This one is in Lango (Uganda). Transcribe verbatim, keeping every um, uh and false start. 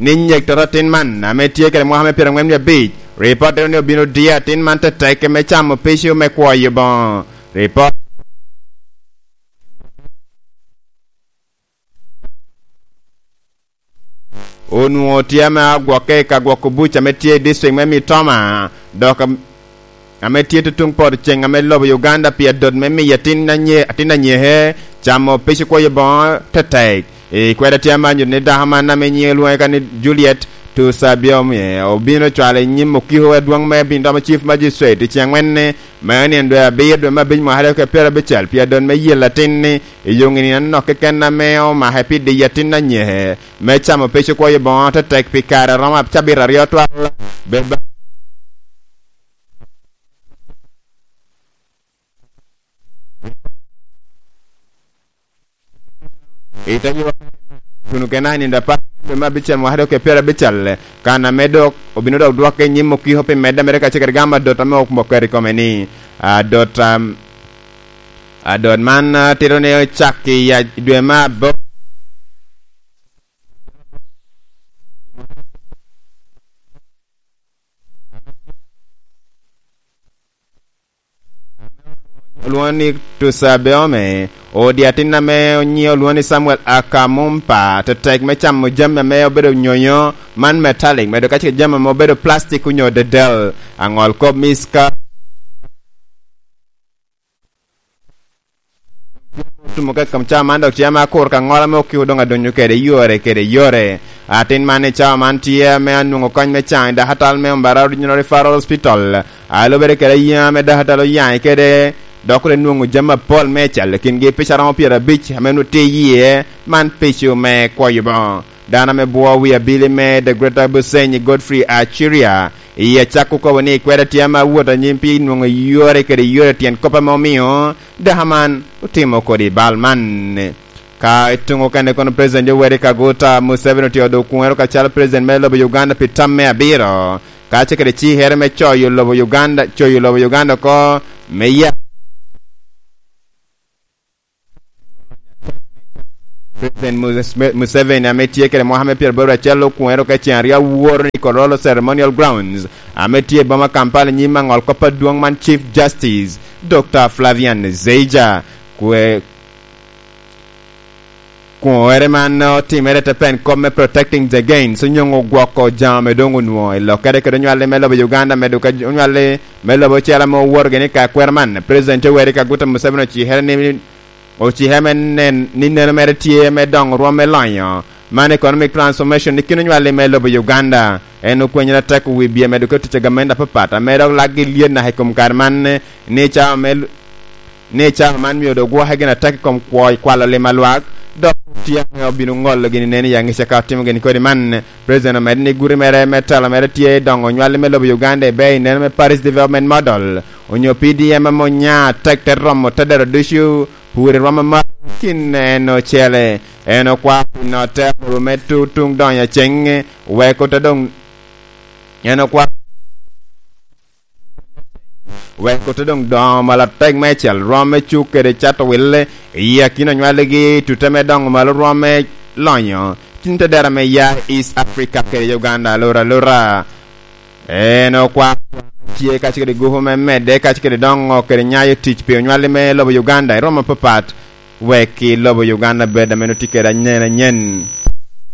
ni nyek toto atin man, ame tye kede mwaka me pyeraŋwen wie abic, ripot ni obino diyo atin man tetek me camo pico me kwoyo boŋo. Ripot onwoŋo tye ame agwokke i ka gwoko buc ame tye i district me Mitoma, dok am-, ame tye tutuŋ poto ceŋ ame lobo Uganda pi adot me miyo atin anye-, atin anyeke camo pic kwoyo boŋo tetek. I kwede tye ame anyuto ni dako man ame nyiŋe lwoŋe ka ni Juliet Tusabiomie obino cwalo i nyim okiko adwoŋ me Bindoma Chief Magistrate i ceŋ wen ni me nino dwe abiro dwe me abic mwaka aryo kede pyerabicel pi adot me yel atin-ni. I yo nino anok keken ame omake pi diyo atin anyeke me camo pic okwoyo boŋo tetek pi kare a romo cabit aryo twal. Bed ba-, i te yo, tuno kena i nino apar dwe me abicel mwaka aryo kede pyerabicel, kan ame dok obino dok dwokke i nyim okiko pi medde mere kacel kede gamo adot ame oketo i kome ni, adot, am, adot man, ah, tito ni ocak i ya-, dwe me abo-, olwoŋo ni Tusabeome, odi atin ame onyiŋe olwoŋo ni Samuel Akamumpa, tetek me camo jami ame obedo nyonyo, man metallic, medo kacel jami ame obedo plastic onyo dedel. Aŋol kop Miska otumo ka i kom cawa man, dok tye ame akur ka ŋola me okiko doŋ adonyo kede yore kede yore. Atin man i cawa man tye ame anwoŋo kony me caŋ i dakatal me Mbarara Regional Referral Hospital. A lubere kede ayen ame dakatal oyaŋe kede, dok te nwoŋo jami apol me cal, kingi pica romo pyerabic ame onwoŋo tye iye, man pico me kwoyo boŋo. Dano ame bwo wi abili me The Greater Busenyi, Godfrey Achiria, i acak okobo ni kwede tye ame awot anyim pi nwoŋo yore kede yore tyen kop ame omio dako man otimo kodi bal man. Ka i tuŋ okene kono, President Yoweri Kaguta Museveni otye odo kuŋero ka calo President me lobo Uganda pi tam me abiro, ka ce kede cikere me coyo lobo Uganda, coyo lobo Uganda oko me ya President Muse-, Museveni ame tye kede mwaka me pyeraboro acel okwero ka ceŋ aryo aworo ni Kololo Ceremonial Grounds ame tye i boma Kampala nyim aŋol kop adwoŋ man Chief Justice Doctor Flavian Zeija. Kwe-, kwoŋere man otimere te pen kop me protecting the gains, onyoŋo gwoko jami ame doŋ onwoŋo i lokkere kede onywalli me lobo Uganda, medo ka onywalli me lobo ocele ame owoto gini ka kwero man. President Yoweri Kaguta Museveni ocikere ni ocike me nen ni neno mere tye me doŋo rwom me lonyo man economic transformation i kin onywalli me lobo Uganda. En okwenyere atek wi bye medo kede tic a gamente apapat ame dok lakgi lyet naka i kom kare man, ni cawa me, ni cawa man mio dok gwoke gin atek i kom kwo kwalo lim a lwak, dok tye ame obino ŋolo gini nen i aŋica ka otimo gini kodi man. President omedde ni guti mere me telo mere tye doŋo onywalli me lobo Uganda i ber i neno me Paris Development Model, onyo P D M ame onya atek te romo te dero ducu, pwod iromo maro kin en ocele. En okwao pi notte awobi me tu-, tuŋ donyo aceŋ, wek ote doŋ, en okwao wek ote doŋ doŋo malo atek meicel, rwom me cuk kede cato wille i akina onywalligi, tute me doŋo malo rwom me lonyo tin te dero me ya East Africa kede Uganda alura alura. En okwao tye kacel kede gupu me medde kacel kede doŋo kede nyayo tic pi onywalli me lobo Uganda i rwom apapat, wek i lobo Uganda bed ame nwoŋo tye kede anyen anyen.